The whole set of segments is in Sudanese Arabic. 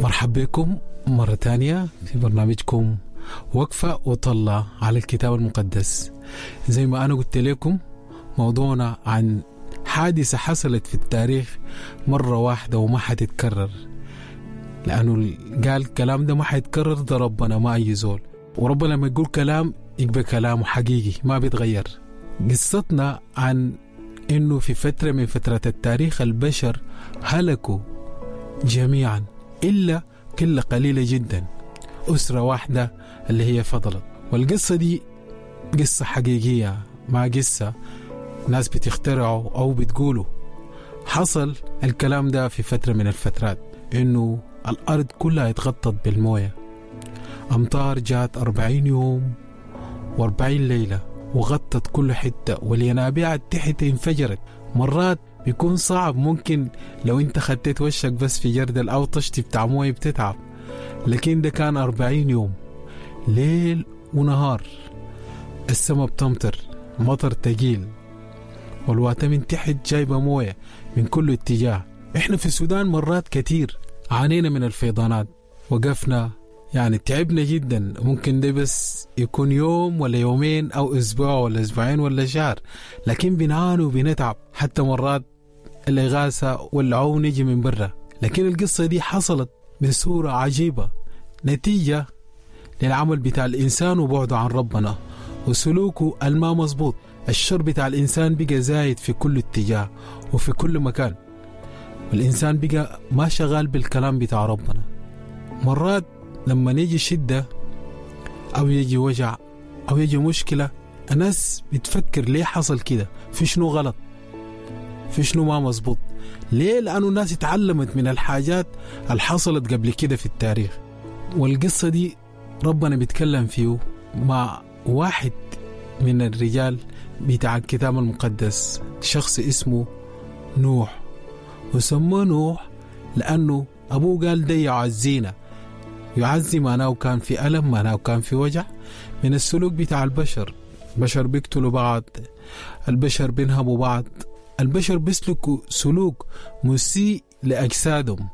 مرحب بكم مرة تانية في برنامجكم وقفة وطلة على الكتاب المقدس. زي ما أنا قلت لكم موضوعنا عن حادثة حصلت في التاريخ مرة واحدة وما حتتكرر، لأنه قال الكلام ده ما حيتكرر، ده ربنا ما أي زول، وربنا لما يقول كلام يبقى كلامه حقيقي ما بيتغير. قصتنا عن إنه في فترة من فترات التاريخ البشر هلكوا جميعا إلا قلة قليلة جدا، أسرة واحدة اللي هي فضلت. والقصة دي قصة حقيقية، ما قصة ناس بتخترعوا أو بتقولوا. حصل الكلام ده في فترة من الفترات إنه الأرض كلها اتغطت بالموية، أمطار جات 40 يوم و40 ليلة وغطت كل حتة، والينابيع تحت انفجرت. مرات بيكون صعب، ممكن لو انت خديت وشك بس في جردل او طشت بتاع مويه بتتعب، لكن ده كان 40 يوم ليل ونهار، السماء بتمطر مطر تقيل، والواتة من تحت جايبة موية من كل اتجاه. احنا في السودان مرات كتير عانينا من الفيضانات، وقفنا يعني تعبنا جدا، ممكن ده بس يكون يوم ولا يومين أو أسبوع ولا أسبوعين ولا شهر، لكن بنعاني وبنتعب، حتى مرات الإغاثة والعون يجي من برا. لكن القصة دي حصلت بصورة عجيبة نتيجة للعمل بتاع الإنسان وبعده عن ربنا وسلوكه الما مظبوط. الشر بتاع الإنسان بقى زايد في كل اتجاه وفي كل مكان، والإنسان بقى ما شغال بالكلام بتاع ربنا. مرات لما يجي شدة أو يجي وجع أو يجي مشكلة، الناس بتفكر ليه حصل كده، في شنو غلط، في شنو ما مظبوط. ليه؟ لأنه الناس اتعلمت من الحاجات اللي حصلت قبل كده في التاريخ. والقصة دي ربنا بيتكلم فيه مع واحد من الرجال بتاع الكتاب المقدس، شخص اسمه نوح، وسموه نوح لأنه أبوه قال ده يعزينا. يعزي معناه كان في ألم، معناه كان في وجع من السلوك بتاع البشر. البشر بيقتلوا بعض، البشر بينهبوا بعض، البشر بيسلكوا سلوك مسيء لأجسادهم،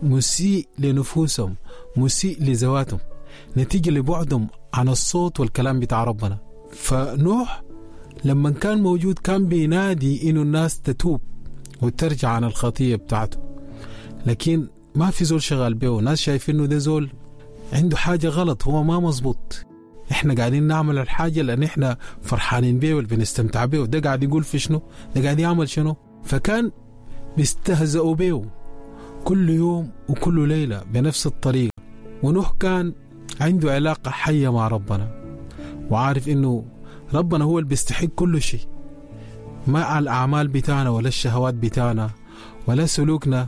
مسيء لنفوسهم، مسيء لذواتهم، نتيجة لبعدهم عن الصوت والكلام بتاع ربنا. فنوح لما كان موجود كان بينادي إنه الناس تتوب وترجع عن الخطية بتاعته، لكن ما في زول شغال بيه. ناس شايفين إنه ده زول عنده حاجة غلط، هو ما مظبوط، احنا قاعدين نعمل الحاجة لأن احنا فرحانين بيه وبنستمتع بيه، ده قاعد يقول في شنو، ده قاعد يعمل شنو. فكان بيستهزئوا بيه كل يوم وكل ليلة بنفس الطريقة. ونوح كان عنده علاقة حية مع ربنا، وعارف إنه ربنا هو اللي بيستحق كل شيء، ما على الأعمال بتاعنا ولا الشهوات بتاعنا ولا سلوكنا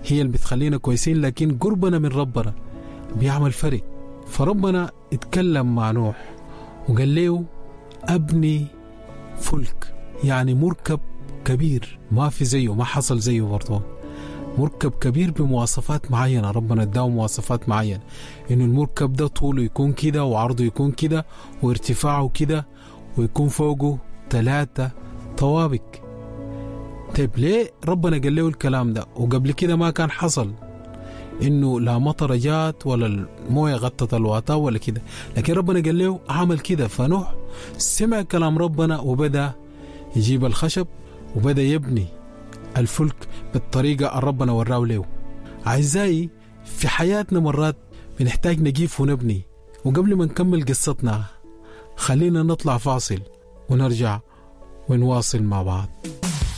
هي اللي بتخلينا كويسين، لكن قربنا من ربنا بيعمل فرق. فربنا اتكلم مع نوح وقال له أبني فلك، يعني مركب كبير ما في زيه، ما حصل زيه برضه، مركب كبير بمواصفات معينة. ربنا اداه مواصفات معينة، إنه المركب ده طوله يكون كده وعرضه يكون كده وارتفاعه كده ويكون فوقه 3 طوابق. طيب ليه ربنا قال له الكلام ده وقبل كده ما كان حصل إنه لا مطر جات ولا الموية غطت الواطة ولا كده، لكن ربنا قال له عمل كده. فنوح سمع كلام ربنا وبدأ يجيب الخشب وبدأ يبني الفلك بالطريقة اللي ربنا وراه له. أعزائي، في حياتنا مرات بنحتاج نقيف ونبني. وقبل ما نكمل قصتنا خلينا نطلع فاصل ونرجع ونواصل مع بعض.